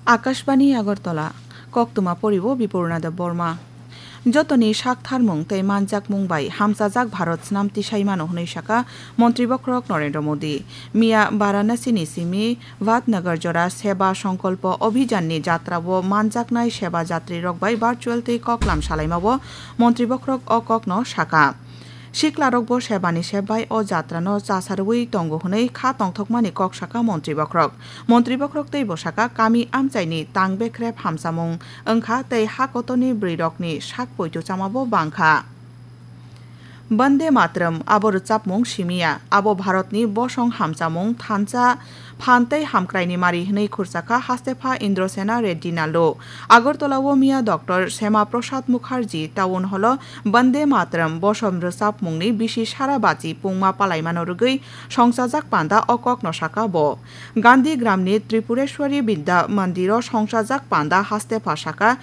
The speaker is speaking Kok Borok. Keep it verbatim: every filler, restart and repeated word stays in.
Akashbani Agartala, koktwma poribo Bipurna Debbarma. Jotoni sak tharmung tei manjakmung bai hamchajak Bharat snam tisai mano hwnwi sakha Montri Bokhorok Narendra Modi. Miya Varanasi ni simi Vadnagar jora Seba Songkolpo Abhijan ni jatra o manjaknai seba jatri rok bai virtual tei koklam salaima o Montri Bokhorok o kok no sakha. Siklarokbo sebani sep bai o jatrano chasarwi tongo hwnwi kha tongthokmani kok sakha Montri Bokhorok. Montri Bokhorok teibo sakha, kami amchaini tang bekrep hamchamung wngkha tei ha kotorni bwrwirokni sak poito chamabo bangkha. Bande Mataram abo rwchapmung simiya, abo Bharatni bosong hamchamung thansa phan tei hamkraini mari hwnwi khursakha hastepha Indrasena Reddy Nallo. Agartala o miya Doctor Sema Prasad Mukherjee Town Hall o Bande Mataram bosom rwchapmungni bisi sara bachi pungma palaimano rwgwi songchajak panda o kokno sakha bo. Gandhi Gramni Tripureshwari Vidya Mandir o songchajak panda hastepha sakha,